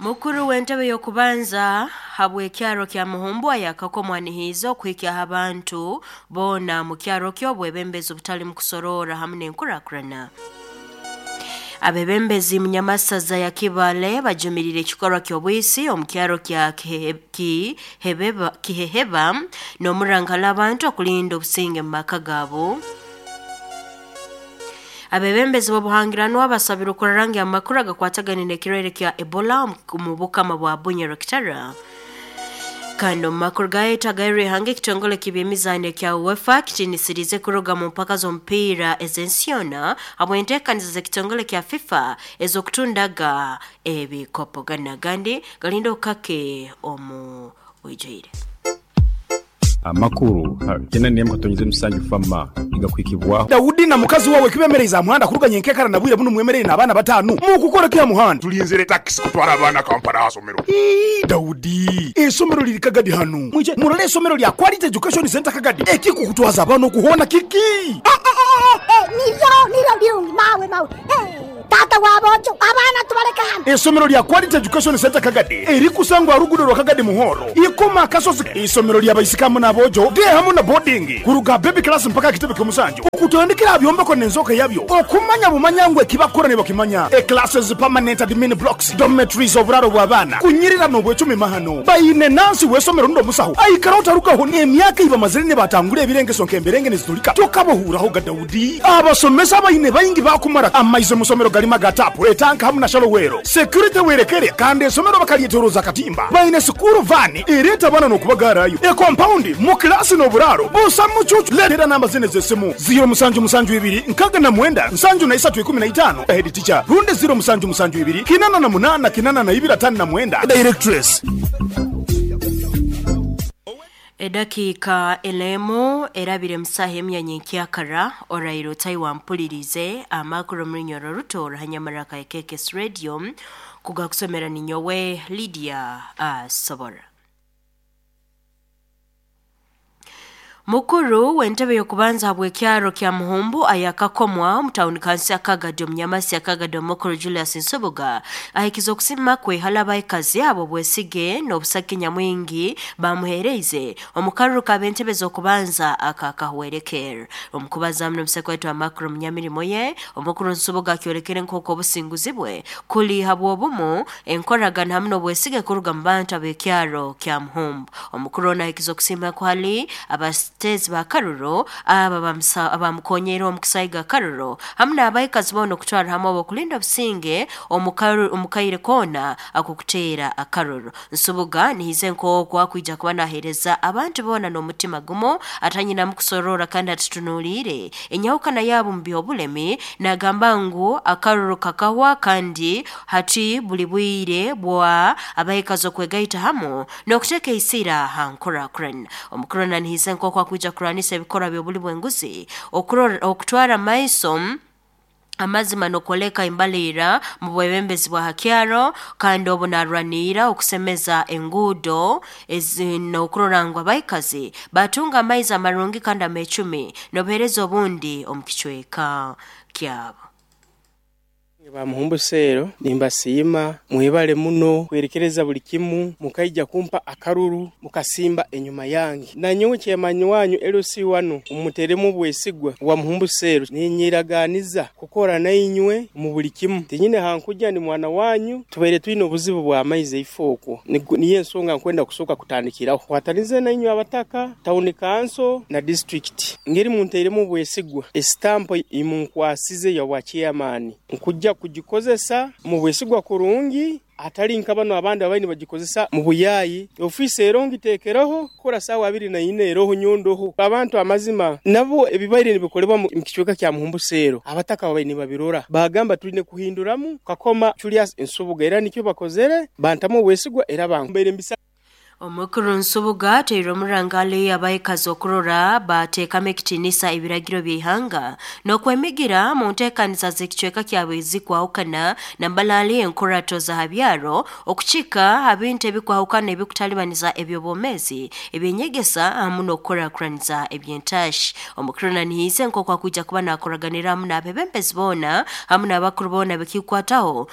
Mukuru w'entebe y'okubanza habw'ekyaro kya Muhumbu ayakakomwa nihiiza okuhikyaho abantu boona mu kyaro ky'obwebembezi obutali mu kusoroora hamu n'enkurakurana. Abebembezi munyamasaza ya Kibale bajumirire ekikorwa ky'obwisi omu kyaro kya Kiheheba n'omurankala abantu okulinda obusinge mu maka gaabo. Abebembezi b'obuhangiranwa basabire okurarangya amakuru agakwatagana n'ekirwaire kya Ebola omu bukama bwa Bunyoro-Kitara. Kandi omu makuru gaitu agairwe ihanga, ekitongole ky'ebyemizaano ekya UEFA kitiinisiriize kuruga mu mpaka z'omupiira ez'ensi yoona habw'enteekaniza z'ekitongole kya FIFA ez'okutundaga ebikopo. Ganu n'agandi galinda okukake omu bwijwire. Amakuru ha 87 Fama nigakuhikibwaho. Daudi na mukazi wawe kibemereize aha muhanda kuruga nyenkekara na bwire bunu mwemereire n'abaana batano. Mukukora ki aha muhanda? Tulinzire takisi kutwara abaana Kampala aha somero. Ii, Daudi, esomero liri Kagadi hanu. Mwije murole esomero lya Quality Education Center Kagadi. Ekikukutwaza abaana okuhoona kiki? Niryo, niryo birungi mawe, mawe. Taata w'aboojo, abaana tubaleke hanu. Esomero lya Quality Education Centre Kagadi erikusangwa aha ruguudo rwa Kagadi Muhoro, Ikoma Akasozi. Isomero lya baisiki hamu n'aboojo, day hamu na boarding, kuruga aha baby class mpaka aha kitebe ky'omusanju, okutandikira aha byombeko n'enzooka yabyo, okumanya bumanya ngu ekibakukora nibakimanya, e classes, permanent admin blocks, dormitories, oburaaro bw'abaana, kunyirira n'obwecumi mahano. Baine nansi w'esomero rundi omusaho aikaraho tarugaho n'emyaka ei bamazire nibatangura ebirengeso nk'emberenge nizitulika tokabohuuraho ga Daudi. Abasomesa abaine baingi baakumara amaizi omu somero garimu aga taapu, etanka hamu na shalowero. Security werekere kandi esomero bakalyetoroza akatimba. Baine sikuuru vaani ereeta abaana n'okubagaarayo. Ekompaundi, mu kilaasi n'oburaaro busa mucuucu. Leetera namba zinu ez'esimu, ziiro musanju musanju ibiri nkaaga na mwenda nsanju na isatu ikumi na itaano, Head teacher, rundi ziiro musanju musanju ibiri kinana na munaana kinana na ibiri ataano na mwenda, Directress. Edakiika ena erabire mu saaha emu ya nyenkyakara, oraire otahi wampuliriize amakuru omu runyoro ruto oruhanyamaraka ya KKS Radio kugakusomera ninyowe Lydia Asobora. Mukuru w'entebe y'okubanza habw'ekyaro kya Muhumbu ayakakomwa omu tawuni kansi ya Kagadi omunyamasi ya Kagadi omukuru Julius Nsubuga ahikize okusima kwe hali abaikazi abo bwesige n'obusaki nyamwingi bamuhereize omu karuru k'ab'entebe z'okubanza aka kahwerekerra. Omu kubaza muno omuseko waitu amakuru omunyamirimo ye, omukuru Nsubuga akyolekere nk'oku obusinguzi bwe kuli habw'obumu, enkoragana hamu n'obwesige kuruga mu bantu ab'ekyaro kya Muhumbu. Omukuru onu ahikize okusima kwe hali abatezi ba karuru aba abamukonyeire omu kusaiga akaruru hamu n'abaikazi boona okutwara hamu obw'okulinda obusinge omu kaire koona ak'okuteera akaruru. Nsubuga nihize nk'oku akwija kuba naheereza abantu boona n'omutima gumu atanyinamu kusoroora kandi atatunuliire enyahukana yaabo mu by'obulemi. Nagamba ngu akaruru kakahwa kandi hati buli bwire bwa abaikazi okwegaita hamu n'okuteeka eisira ha nkurakurana. Omukuru nanihize nk'oku akwija kurwanisa ebikorwa by'obuli bw'enguzi, okutwara amaiso amazima n'okwoleka embaliira mu bwebembezi bwa hakyaro, kandi obu narwaniira okusemeza enguudo n'okurora ngu abaikazi batunga amaizi amarungi kandi amecumi n'obuheereza obundi omu kicweka kyabo. Bamuhumbu seero nimbasiima, mwebale muno kwerekereza buli kimu, mukaija kumpa akaruru mukasimba enyuma yange. Nanyowe chairman wanyu LC wano mumuteremu obwesigwa wa Muhumbu seero, ninyeraganiza kukora nainywe mu buli kimu. Tinyine hankuja ndi mwana wanyu, tubaire twine obuzibu bwa maizi eifo okwo. Niyo ensonga nkwenda kusooka kutandikiraho. Kwatanize nainywe abataka, town council na district. Ngeri munteiremu obwesigwa, esitampo imunkwasize ya bwa chairman. Nkujja kugikozesa mu bwesigwa kurungi, atali nka bano abandi abaine bagikozesa mu buyayi. Ofiisi ero ngiteekereho kukora saawa abiri na ina eroho nyondoho. Abantu amazima nabo ebibaire nibikolebwa mu kicweka kya Muhumbu seero abataka babaire nibabirora, bagamba twine kuhinduramu Kakoma Julius Nsubuga, era nikyo bakozere, bantamu obwesigwa era bambaire mbisa. Omukuru Nsubuga ateire omurangale abaikazi okurora bateekamu ekitiinisa ebiragiro by'ihanga n'okwemigira mu nteekaniza z'ekicweka kyabwe ezikwahukana nambalaali enkurato za habyaro okukika ha bintu ebikwahukana ebikutalibaniza eby'obwomeezi, ebyenyegesa hamu n'okukurakuraniza eby'entashi. Omukuru nanihiize nk'oku akwija kuba naakoraganira hamu n'abebembezi boona hamu n'abakuru boona bekikwataho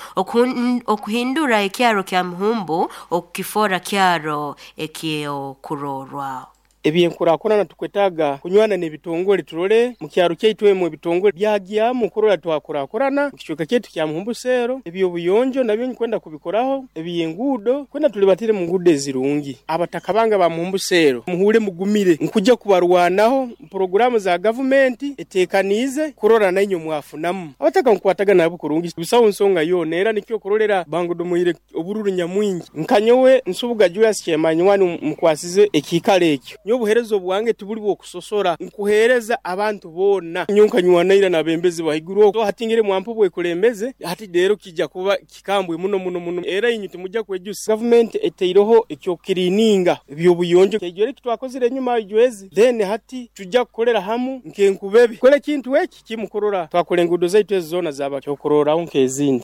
okuhindura ekyaro kya Muhumbu okukifoora kyaro ekyokurorwa. Ebyenkurakurana tukwetaaga kunywana n'ebitongole turole mu kyaro kyaitu emu ebitongole byagyamu kurora twakurakurana mu kicweka kyaitu kya Muhumbu Seero. Eby'obuyonjo nabyo nkwenda kubikoraho, eby'enguudo kwenda tulibatire mu nguudo ezirungi. Abataka bange ba Muhumbu Seero muhuure mugumire, nkujja kubarwanaho puroguraamu za gavumenti eteekaniize kurora nainywe mwafunamu. Abataka nkukwatagana nabo kurungi busaho nsonga yoona era nikyo kurolera bangodomoire obururu nyamwingi. Nka nyowe Nsubuga Julius Kyemanywani mukwasize ekiikaro ekyo. Nyowe obuheereza obwange tibuli bw'okusosora, nkuheereza abantu boona. Nyowe nkanywana ira n'abembezi bahaiguru okwo, hati ngire mwampa obwekulembeze, hati leero kija kuba kikambwe muno muno muno era inywe timujja kwejusa. Gavumenti etaireho eky'okukiriininga eby'obuyonjo, kyaijwera eki twakozire enyuma ijwezi, then hati tujja kukolera hamu nk'enkubebe kukora ekintu eki kimu kurora twakora enguudo zaitu ezi zoona zaaba kyokurorraho nk'ezindi.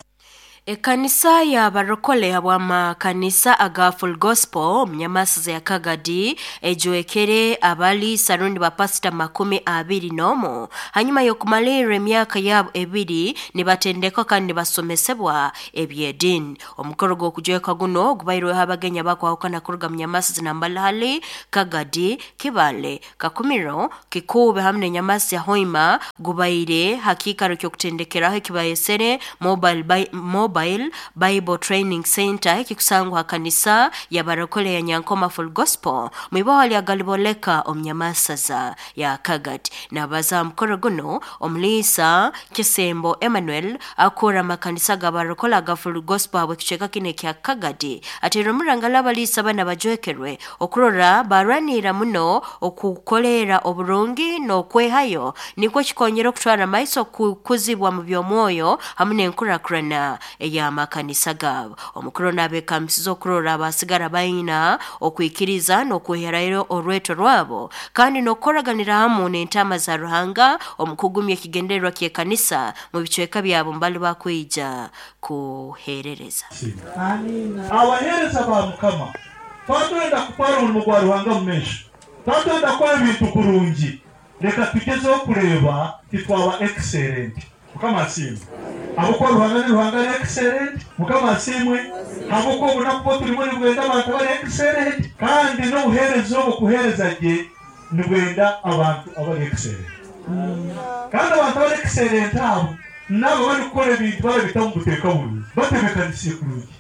Ekanisa y'abarokole habw'amakanisa aga Full Gospel omu Nyamasiza ya Kagadi ejwekere abaliisa rundi bapasita 21 hanyuma y'okumalirra emyaka yabo 2 nibatendekwa kandi nibasomesebwa eby'ediini. Omukoro gw'okujweka guno gubairweho abagenyi abakwahukana kuruga mu Nyamasiza Nambalahali, Kagadi, Kibale, Kakumiro, Kikuube hamu n'Enyamasi ya Hoima gubaire ha kiikaro ky'okutendekeraho ekibayesere Mobile Bible Training Center ekikusangwa ha kanisa y'abarokole ya Nyankoma Full Gospel mu iboho lya Galiboleka omu Nyamasaza ya Kagadi. Nabaza ha mukoro guno omuliisa Kisembo Emmanuel akora amakanisa g'abarokole aga Full Gospel habw'ekicweka kinu ekya Kagadi ateire omurangala abaliisa bana bajwekerwe okurora barwanira muno okukoleera oburungi n'okwehayo nikwo kikonyera okutwara amaiso kukuzibwa mu by'omwoyo hamu n'enkurakurana ey'amakanisa gaabo. Omukuru n'abeekambisiza okurora abasigara baina okwikiriza n'okweherayo orweto rwabo kandi n'okukoraganira hamu n'entaama za Ruhanga omu kugumya ekigendererwa ky'ekanisa mu bicweka byabo mbali bakwija kuheerereza. Abaheereza ba Mukama, twatwenda kutwara omurimo gwa Ruhanga mu maisho, twatwenda kukora ebintu kurungi, leka tugezeho kureeba titwaba excellent. Mukama asiimwe. Ahabw'okuba Ruhanga ni Ruhanga ari excellent. Mukama asiimwe. Ahabw'okuba obunaku obu turimu nibwenda abantu abari excellent. Kandi n'obuheereza obu kuheereza gye nibwenda abantu abari excellent. Kandi abantu abari excellent abo n'abo abarikukora ebintu barabita omu buteeka burungi, batebeekanisiire kurungi.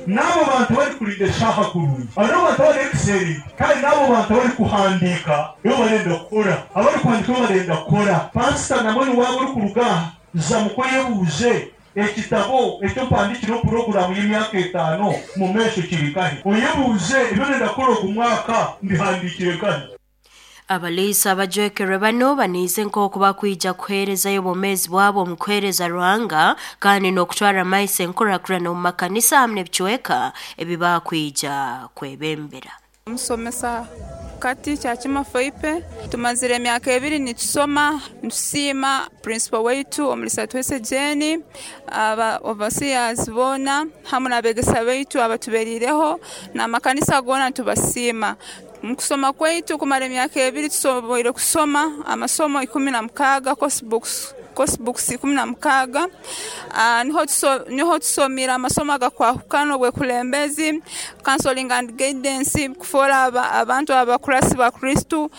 N'abo bantu abarikurinda eshaaha kurungi. Abo nibo bantu abari excellent. Kandi n'abo bantu abarikuhandiika ebi barenda kukora. Abarikuhandiika ebi barenda kukora. Pasita nambwenu waaba orikuruga aha, za muka oyebuuze, ekitabo eki ompandiikireho puroguraamu y'emyaka 5 mu maisho kiri nkahi? Oyebuuze, ebi orenda kukora ogu mwaka mbihandiikire nkahi? Abaliisa abajwekerwe bano baniize nk'oku bakwija kuheerezayo obwomeezi bwabo omu kuheereza Ruhanga kandi n'okutwara amaiso enkurakurana omu makanisa hamu n'ebicweka ebi bakwija kwebembera. Omusomesa Kati Kyakima Foipe, tumazire emyaka 2 nitusoma, nitusiima principal waitu Omulisa Twese Jane, aba overseers boona hamu n'abegesa baitu abatuberiireho n'amakanisa goona nitubasiima. Mu kusoma kwaitu kumara emyaka 2 tusoboire kusoma amasomo 16, course books, course books 16. Niho tusomire amasomo agakwahukana obwekulembezi, counseling and guidance, kufoora abantu abakurasi ba Kristo.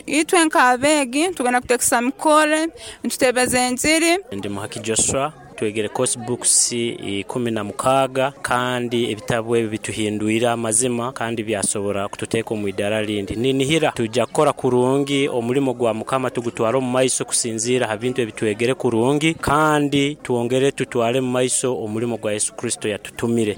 Itwe nk'abeegi tugenda kutekesa mikore, nitutebeza enjiri. Ndi Muhaki Joshua, twegere course books 16 kandi ebitabu ebi bituhindwire amazima kandi byasobora kututeeka omu idaara rindi. Ninihira twija kukora kurungi omulimo gwa Mukama tugutware omu maiso kusinziira ha bintu ebitwegere kurungi kandi twongere tutware mu maiso omulimo gwa Yesu Kristo yatutumire.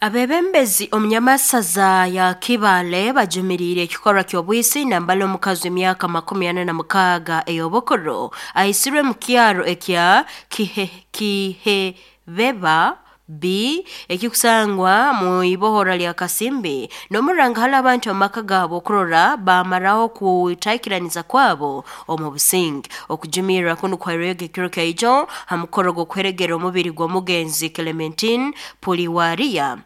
Abebembezi omu Nyamasaza ya Kibale bajumiriire ekikorwa ky'obwisi nambala omukazi w'emyaka 46 ey'obukuru aisirwe mu kyaro ekya Kihebeba B ekikusangwa mu ibohora lya Kasimbi n'omuranga hali abantu omu maka gaabo okurora bamaraho kutaikiraniza kwabo omu businge. Okujumirra kunu kwairwege ekiro kyaijo ha mukoro gw'okuheregera omubiri gw'omugenzi Clementine Puliwaria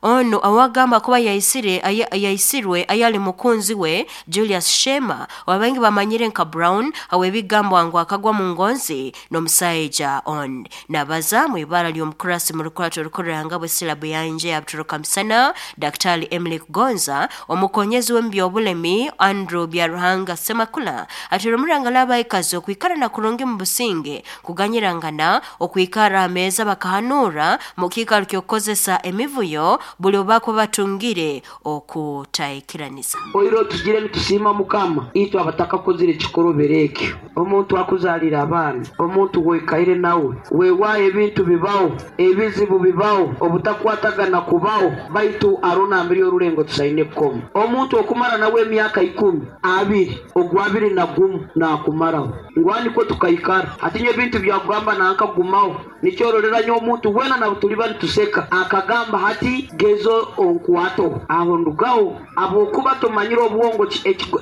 ono awagamba kuba yaisire yaisirwe ayali mukunzi we Julius Shema wabangi bamanyire nka Brown awebigambwa ngu akagwa mu ngonzi n'omusaija on nabaza mu ibara ly'omukurasi mu rukurato rukuranga bwe silabu yanje yabturuka misana Daktari Emily Kugonza omukonyezi w'ebyobulemi Andrew Byaruhanga Semakula atera omuranga labaikazi okwikara na kurungi mu businge kuganyirangana okwikara ameza bakahanura mu kiikaro ky'okukozesa emivuyo buli obako batungire okutaikiranisa. Oiro tugire nitusiima Mukama itwe abatakakozire ekikorobero ekyo. Omuntu akuzaalira abaana, omuntu weikaire nawe, weewaayo ebintu bibaho, ebizibu bibaho, obutakwatagana kubaho, baitu arona mbiri orulengo tusaine kukoma. Omuntu okumara nawe emyaka 10, 20, ogwa 21 naakumaraho. Ngwani ko tukaikara. Hati nyo ebintu byakugamba nankagumaho. Nikyororera nyo omuntu wena nabo tuliba nituseka. Akagamba hati gezo onkwato. Aho ndugaho abokuba tumanyire obwongo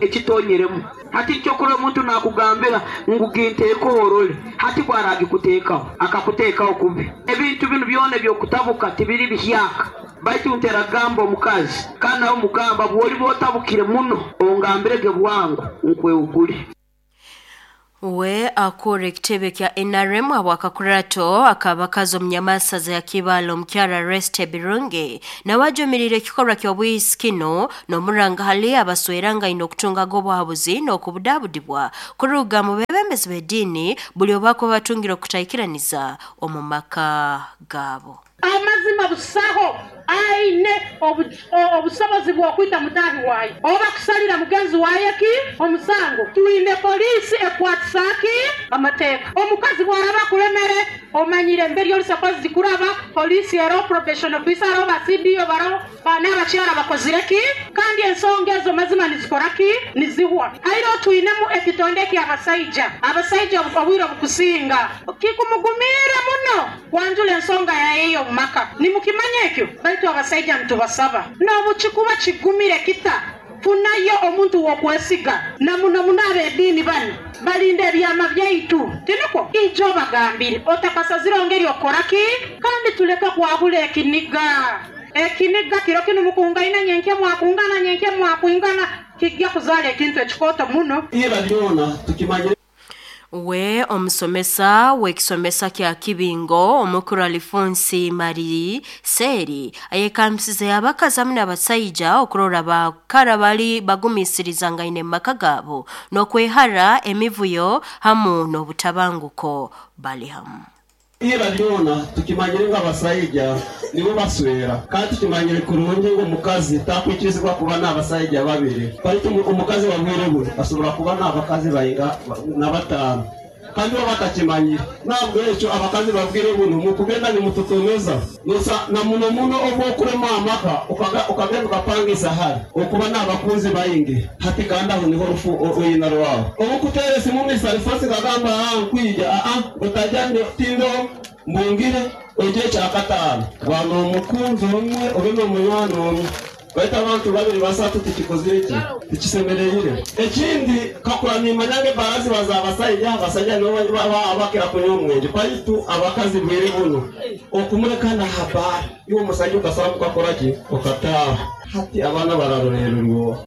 ekitonyeremu. Hati kyokora omuntu nakugambira ngu ginteeko orole. Hati bwaragikuteekaho akakuteekaho kubi. Ebintu binu byona ebyokutabuka tibiri bihyaka. Baitu nteragamba omukazi kana omugamba bwoli botabukire muno ongambirege bwangu nkweugule. We akora ekitebe kya NRM abwakakurato akabakazi omunyamasaza ya Kibalo omukyara Reste Birungi nawajumirire ekikorwa ky'obwisi kino n'omuranga hali abasweranga ino okutungaga obuhabuzi n'okubudabudibwa kuruga mu bebembezi b'eddiini buli obako batungire okutaikiraniza omu maka gaabo. Amazima busaho aine obusobozi bw'okwita mutahi waye oba kusalira mugenzi waye ki omusango. Twine polisi ekwatisaki amateeka. Omukazi bwaraba kulemere omanyire mberi oli supposed kuraba polisi ero probation officer oba CDO baro bana abakyala bakozire ki kandi ensonga ezo mazima nizikora ki nizihwa. Airo twinemu ekitonde ky'abasaija abasaija obwire obukusinga kikumugumira muno kwanjula ensonga yayeyo maka nimukimanya ekyo. Baitu abasaija ntubasaba n'obukikuba kigumire kita funayo omuntu wokwesiga na muno muno ab'eddiini bano balinda ebyama byaitu tiniko ijo bagambire otakasazire ongeri okoraki kandi tuleke kwahula ekiniga. Ekiniga kiro kinu mukungaina nyenke mwakungana nyenke mwakwingana kijja kuzaala ekintu ekikoto muno. Ira lyona tukimanyire. We omusomesa w'ekisomesa kya Kibingo omukuru Alifonsi Mari Seri ayekambisize abakazi hamwe n'abasaija okurora bakara bali bagumisiriza ngaine maka gaabo n'okwehara emivuyo hamu n'obutabanguko bali hamu. Ira lyona tukimanyire ng'abasaija nibo baswera kandi tukimanyire kurungi ngo omukazi takwikirizibwa kuba n'abasaija babiri baitu omukazi wabwire bwe asobora kuba n'abakazi bainga na batano kandi bo batakimanyire. Ntabwo ekyo abakazi babwire buno mukugenda nimututomeza nosa na muno muno obwokurema amaka ukagenda ukapangisa hari okuba n'abakunzi baingi hati kandi aho niho rufu oyina rwawe obukutere simu misalifosi kagamba nkwija utajya tindo mbungire oje kyakataano bwana omukunzi omwe obe n'omunywani omwe baitu abantu babiri basatu tikikozire ki tikisemereire. Ekindi kakura nimanya ngebarazi baza abasaija abasaija nibo abakira kunywa omwenge baitu abakazi bwire buno okumulekana habari iwe omusajja okasaba mukakora ki okataaha hati abaana bararorererwa.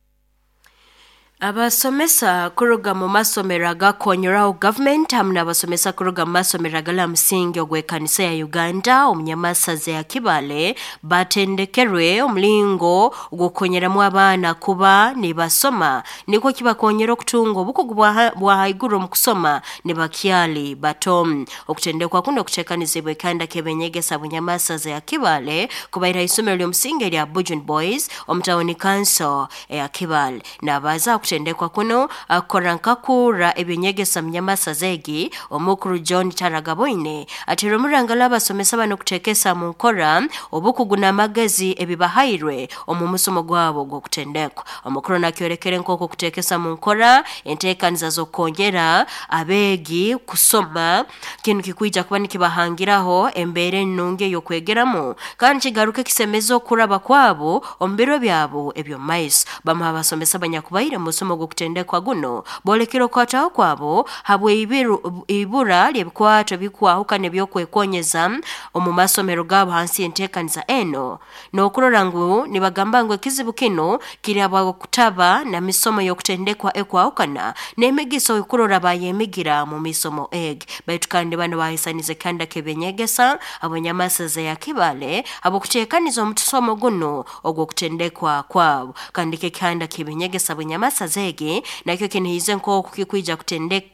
Abasomesa kuruga mu masomero agakonyeraho government hamu n'abasomesa kuruga mu masomero agala musingi ogw'ekanisa ya Uganda omunyamasaza ya Kibale batendekerwe omulingo ogw'okukonyeramu abaana kuba nibasoma nikwo kibakonyera okutunga obukugu bwa haiguru omu kusoma nibakyali bato. Okutendekwa kuno kuteekanizibwa ekanda k'ebenyegesa bunyamasaza ya Kibale kubaira isomero ly'omusingi erya Bujun Boys omu tawuni council eya Kibale. Nabaza gw'okutendekwa kuno akukora nkakura ebyenyegesa munyamasaza egi omukuru John Taragaboine atera omurangala abasomesa bano kutekesa mu nkora obukugu n'amagezi ebibahairwe omu musomo gwabo gw'okutendekwa. Omukuru nakyorekere nk'oku kutekesa mu nkora enteekaniza z'okwongera abeegi kusoma kinu kikwija kuba nikibahangiraho embeera ennungi ey'okwegeramu kandi kigaruke kisemeza okuraba kwabo omu biro byabo eby'omu maiso. Bamu abasomesa abanyakubaire mu musomo gw'okutendekwa guno boolekere okukwataho kwabo habw'ibura ly'ebikwato ebikwahukana ebyokwekonyeza omu masomero gaabo hansi y'enteekaniza eno n'okurora ngu nibagamba ngu ekizibu kino kiri habw'okutaba na misomo y'okutendekwa ekwahukana n'emigiso ekurora bayemigira mu misomo egi. Baitu kandi bano bahisaniza ekihanda ky'ebyenyegesa abanyamasaza ya Kibale habw'okuteekaniza omutusomo guno ogw'okutendekwa kwabo. Kandi ekihanda ky'ebyenyegesa bwenyamasaza egi nakyo kinihize nk'oku kikwija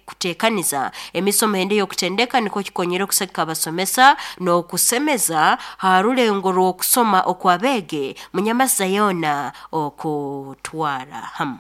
kuteekaniza emisomo endi ey'okutendeka nikwo kikonyere okusagika abasomesa n'okusemeza ha rulengo rw'okusoma okw'abeegi munyamasaza yoona okutwara hamu.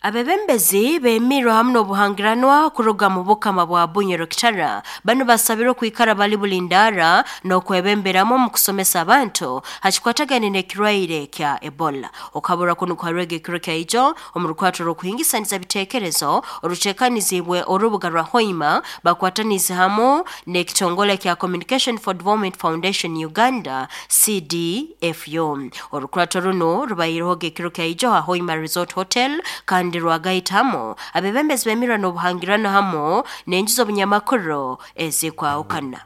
Abebembezi bemirwe hamu n'obuhangiranwa kuruga mu bukama bwa Bunyoro Kitara bano basabirwe okwikara bali bulindara n'okwebemberamu omu kusomesa abantu hakikwatagane n'ekirwaire kya Ebola. Okabura kuno kwarwega ekiro kya ijo omu rukwato rw'okuhingisaniza biteekerezo oruteekanizibwe orubuga rwa Hoima bakwatanize hamu n'ekitongole kya Communication for Development Foundation Uganda CDFU. Orukwato runo rubaireho ekiro kya ijo ha Hoima Resort Hotel kandi rwagaitamu abebembezi bemirwa n'obuhangirano hamu n'enju z'obunyamakuru ezikwahukana.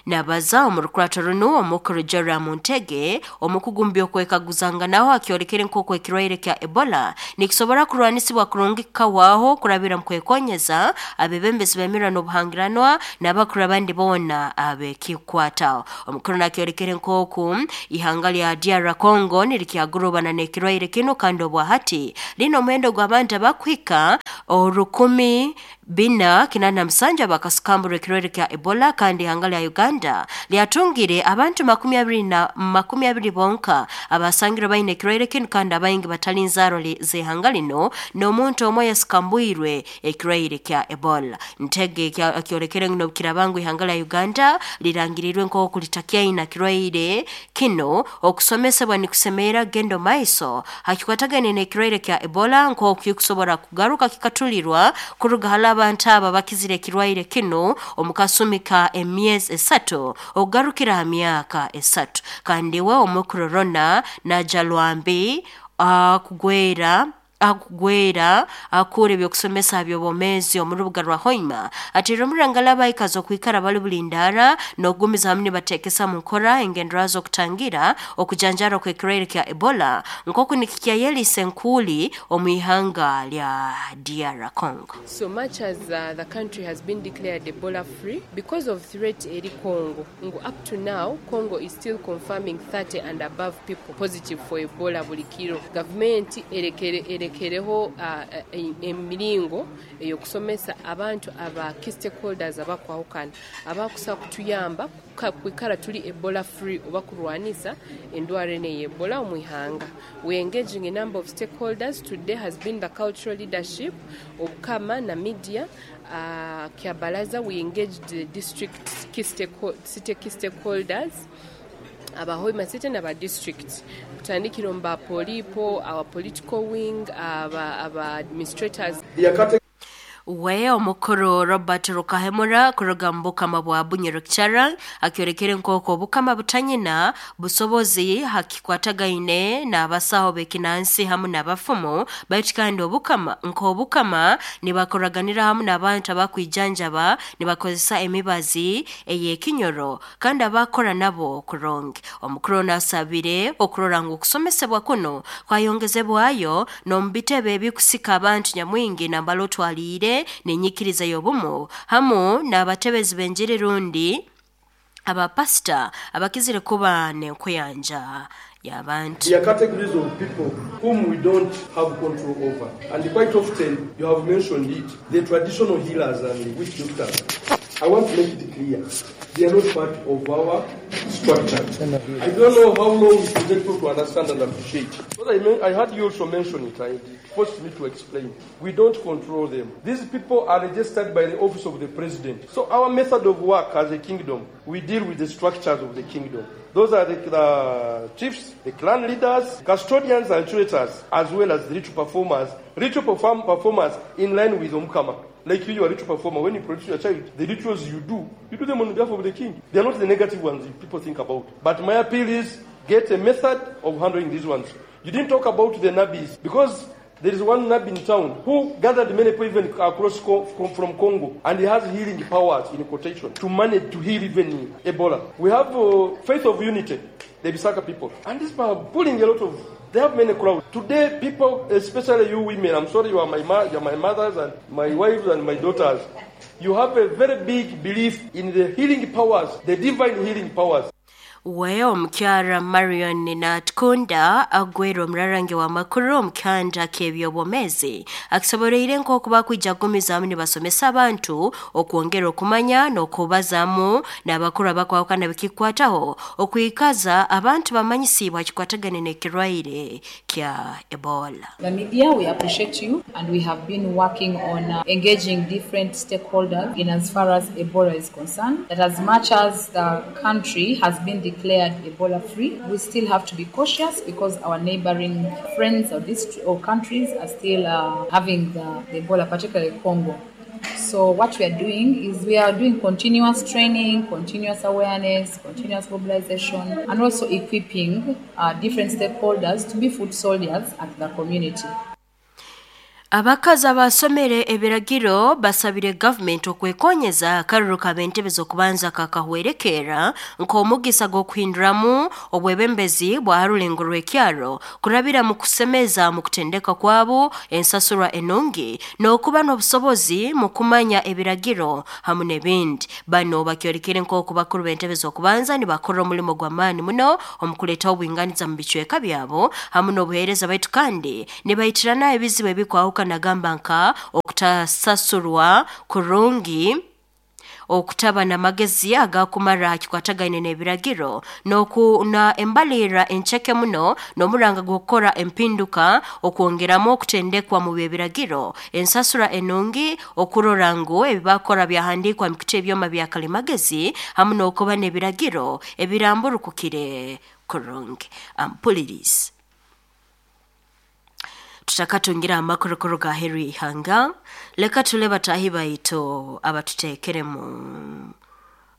Nabaza omu rukurato runo omukuru Joram Ntege omukugu okwekaguzanganaho akyolekere nk'oku ekirwaire kya Ebola nikisobora kurwanisibwa kurungi kikawaho kurabira mu kwekonyeza abebembezi bemirwa n'obuhangiranwa n'abakuru abandi boona abekikwataho. Omukuru nakyolekere nk'oku ihanga lya DR Congo nirikyagurubana n'ekirwaire kino kandi obwahati lino omuhendo gw'abantu abakuhika 4,487 bakasukambura ekirwaire kya Ebola kandi ihanga lya Uganda lyatungire abantu 20 bonka abasangirwe baine ekirwaire kino kandi abaingi batali nzaaro z'ihanga lino n'omuntu omwe yasukambwirwe ekirwaire kya Ebola. Ntege akyolekere ngu n'obukiraba ngu ihanga lya Uganda lirangirirwe nk'oku litakyaina kirwaire kino okusomesebwa nikusemeera kugenda omu maiso hakikwatagane n'ekirwaire kya Ebola nk'oku kikusobora kugaruka kikatulirwa kuruga hali abantu aba bakizire ekirwaire kino omu kasumi ka emyezi 3 okugarukira ha myaka 3. Kandi we omukuru Rona Najalwambi akugwera akura ebyokusomesa by'obwomeezi omu rubuga rwa Hoima atera omurangala abaikazi okwikara bali bulindara n'okugumiza hamu nibateekesa mu nkora engendera z'okutangira okujanjara kw'ekirwaire kya Ebola nk'oku nikikyayelisa enkuuli omu ihanga lya DR Congo. So much as the country has been declared Ebola free because of threat eri Congo, ngu up to now Congo is still confirming 30 and above people positive for Ebola buli kiro. Gavumenti erekereho emiringo ey'okusomesa abantu aba key stakeholders abakwahukana abakusa kutuyamba kwikara tuli Ebola free oba kurwanisa endwara eno ey'Ebola omu ihanga. We engaging a number of stakeholders. Today has been the cultural leadership Obukama na media Kyabalaza. We engaged the district city key stakeholders aba Hoima City n'aba district kutandikira omu ba polipo, our political wing, aba administrators. We omukuru Robert Rukahemura kuruga mu bukama bwa Bunyoro Kitara akyolekere nk'oku obukama butanyina busobozi hakikwatagaine n'abasaho b'ekinansi hamu n'abafumu baitu kandi obukama nk'obukama nibakoraganira hamu n'abantu abakwijanjaba nibakozesa emibazi ey'ekinyoro kandi abakora nabo kurungi. Omukuru nasabire okurora ngu okusomesebwa kuno kwayongezebwayo n'omu bitebe ebikusika abantu nyamwingi nambala otwaliire n'enyikiriza y'obumu hamu n'abatebezi b'enjiri rundi abapasita abakizire kuba n'enkuyanja y'abantu. There are categories of people whom we don't have control over, and quite often you have mentioned it, the traditional healers and the witch doctors. I want to make it clear. They are not part of our structure. I don't know how long it will take people to understand and appreciate. But I heard you also mention it, and it forced me to explain. We don't control them. These people are registered by the office of the president. So our method of work as a kingdom, we deal with the structures of the kingdom. Those are the chiefs, the clan leaders, custodians and curators, as well as the ritual performers. Ritual performers in line with Omukama. Like you are a ritual performer. When you produce your child, the rituals you do them on behalf of the king. They are not the negative ones people think about. But my appeal is, get a method of handling these ones. You didn't talk about the nabis, because there is one nabi in town who gathered many people even across from Congo, and he has healing powers, in quotation, to manage to heal even Ebola. We have Faith of Unity, the Bisaka people, and these people are pulling a lot of... They have many crowds. Today, people, especially you women, I'm sorry you are my mothers and my wives and my daughters, you have a very big belief in the healing powers, the divine healing powers. We omukyara Marion Natkunda agwera omurarange wa makuru omukyanda k'ebyobwomezi akisoboleire nk'okuba kwijagumizamu nibasomesa abantu okwongera okumanya n'okubazaamu n'abakuru abakwawukana bikikwataho okwikaza abantu bamanyisibwa kikwatagane n'ekirwaire kya Ebola. The media, we appreciate you, and we have been working on engaging different stakeholders in as far as Ebola is concerned, that as much as the country has been declared Ebola free, we still have to be cautious because our neighboring friends or district or countries are still having the Ebola, particularly Congo. So what we are doing is we are doing continuous training, continuous awareness, continuous mobilization, and also equipping different stakeholders to be foot soldiers at the community. Abakazi abasomere ebiragiro basabire government okwekonyeza akaruru kabentebe z'okubanza kakahwerekera nk'omugisa gw'okuhinduramu obwebembezi bwa harulengo rw'ekyaro kurabira mu kusemeza mu kutendeka kwabo ensasurwa enungi n'okuba n'obusobozi mu kumanya ebiragiro hamu n'ebindi. Bano bakyorekere nk'oku bakuru b'entebe z'okubanza nibakora omulimo gw'amaani muno omu kuleeta obwinganiza mu bicweka byabo hamu n'obuheereza baitu kandi nibayitirana ebizibu ebikwaho kanagamba nka okutasasurwa kurungi, okutaba n'amagezi agakumara kikwatagaine n'ebiragiro n'okuna embalira encheke muno n'omuranga gw'okukora empinduka okwongeramu okutendekwa mu by'ebiragiro ensasura enungi okurora ngu ebibakora byahandikwa mu kuta ebyoma bya kalimagezi hamu n'okuba n'ebiragiro ebiramburukukire kurungi. Ampulirizi tutakatungira amakorokoro ga heri ihanga leka tule batahi baito abatutekeremu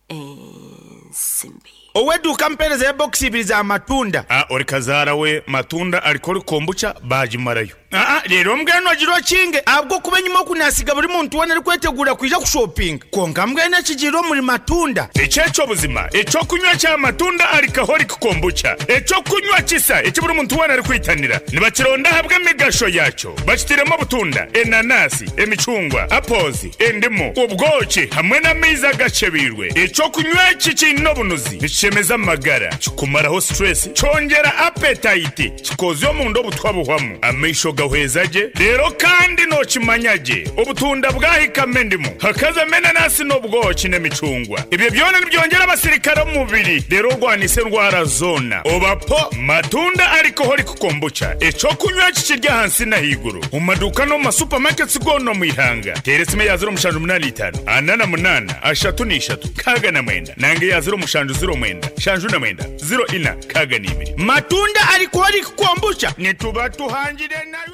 ensimbi. Oweduka mpereza ya box ibiri za matunda. Ori kazara we matunda alikori kombucha bajimarayo. Rero mbweno agirwa kinge abwo kuba nyuma kunasiga buri muntu wena ari kwetegura kwija kushopping. Konka mbwene kigiro muri matunda. Echecho buzima, echo kunywa cha matunda alcoholic kombucha. Echo kunywa kisa eki buri muntu wena ari kwitanira. Nibakironda habwa migasho yacho. Bakitiremo butunda, enanasi, emicungwa, apples, endimu, ubwoki hamwe n'amaizi agacebirwe. Echo kunywa iki kino bunuzi. Nichemeza amagara, kikumaraho stress, cyongera appetite, kikozyo mu ndo butwabuhwamu. Amaisho gahwezaje rero kandi nokimanyaje obutunda bwahikame ndimu hakaza menanasi n'ubwoki n'emicungwa. Ibyo byona nibyongera abasirikare mu mubiri rero rwanise ndwara zona. Obapo matunda alcoholic kombucha eco kunywa kikirya hansi na higuru mu maduka no mu supermarkets gono mu ihanga. Teresime ya 0.85 48 33 69 nange ya 0.09 69 04 62. Matunda alcoholic kombucha nituba tuhangire nayo.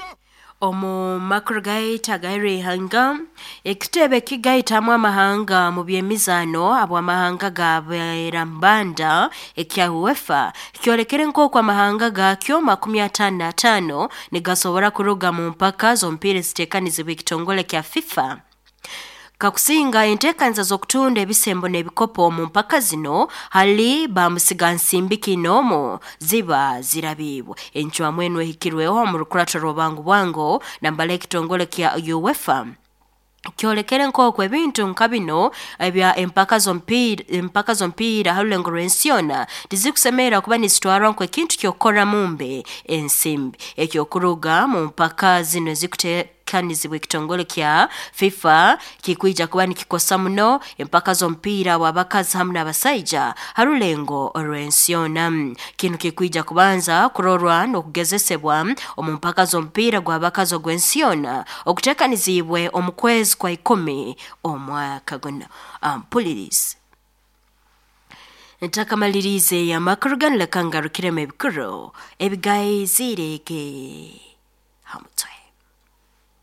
Omu makuru gaita gaire ihanga ekitebe kigaitamu amahanga mu by'emizaano abw'amahanga gaberambanda ekya UEFA kyolekere nk'oku amahanga gakyo 55 nigasobora kuruga mu mpaka z'omupiira eziteekanizibwa ekitongole kya FIFA. Kakusinga enteekanisa z'okutunda ebisembo n'ebikopo mu mpaka zino hali bamusigansimbi kinomo ziba zirabibwa. Encwamu eno ehikirweho mu rukurato rw'obangu bwango nambala ekitongole kya UEFA kyolekere nk'oku ebintu nka bino ebya empaka z'omupiira harulengo rw'ensi yona tizikusemera kuba nizitwarwa nk'ekintu ky'okukora mumbe ensimbi. Ekyokuruga mu mpaka zino okutekanizibwa ekitongole kya FIFA kikwija kuba nikikosa muno empaka z'omupiira w'abakazi hamu n'abasaija ha rulengo orw'ensi yoona. Kinu kikwija kubanza kurorwa n'okugezesebwa omu mpaka z'omupiira gw'abakazi ogw'ensi yoona okutekanizibwe omu kwezi kwa 10 omwaka guno. Ampulirize. Ntakamalirize amakuru ganu leka ngarukiremu ebikuru ebigaizirege ha mutwe.